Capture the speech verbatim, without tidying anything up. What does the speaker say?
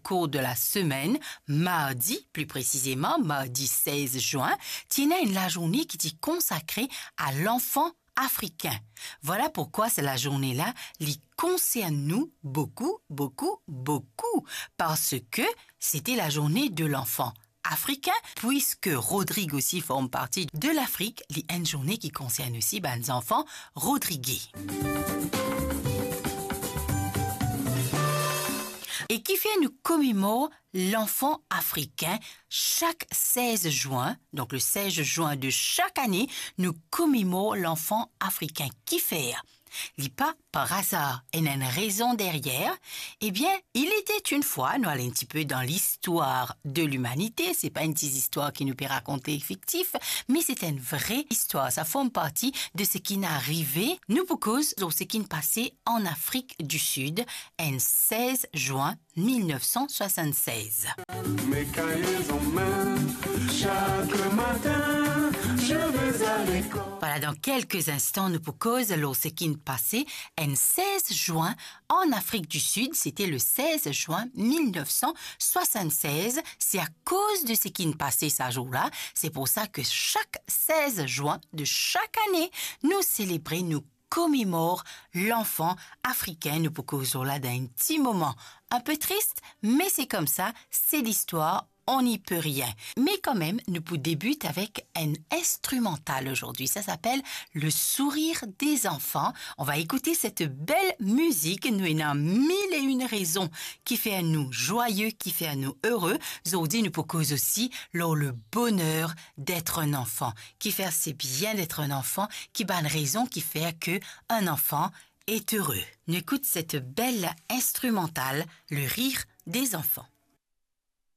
cours de la semaine, mardi, pli presizeman, mardi sez zwin, ti ena enn lazourne ki ti konsakre a lanfan afrikin. Vwala poukwa sa lazourne la, li konsern nou boukou, boukou, boukou, parski se ti lazourne de lanfan afrikin, pwiski Rodrig osi form parti de Lafrik, li enn zourne ki konsern osi bann zanfan rodrige. E kifer nou komemor lanfan afrikin sak sez zwin, donk le sez zwin de sak ane, nou komemor lanfan afrikin. Kifer? Li pa par azar, ena enn rezon deryer. Ebien, il était une fois, nou al enn tipe dan listwar de limanite, se pa enn ti zistwar ki nou pe rakonte fiktif, me se enn vre istwar, sa form parti de seki inn arive. Nou pou koz lor seki inn pase an Afrik di Sid, enn sez zwin mil nef san swasann-sez. Mes cahiers en main, chaque matin, je vais à l'école. Vwala, dan kelke instan, nou pou koz lor seki inn pase enn sez zwin an Afrik di Sid, se ti le sez zwin mil nef san swasann-sez. Se akoz de seki inn pase sa zour la, se pou sa ki sak sez zwin de sak ane, nou selebre, nou komemor lanfan afrikin. Nou pou koz lor la dan enn ti moman, enn pe tris, me se koumsa, se listwar, on n'y peut rien. Me kanmem, nou pou debit avek enn instrumental aujourd'hui. Ça s'appelle Le sourire des enfants. On va écouter cette belle musique. Nou ena mil e enn rezon ki fer nou zwaye, ki fer nou ere. Zordi, nou pou koz osi lor le bonheur d'être un enfant. Kifer se bien d'être un enfant, ki bann rezon ki fer ke un enfant est heureux. Nou ekout cette belle instrumentale, Le rire des enfants.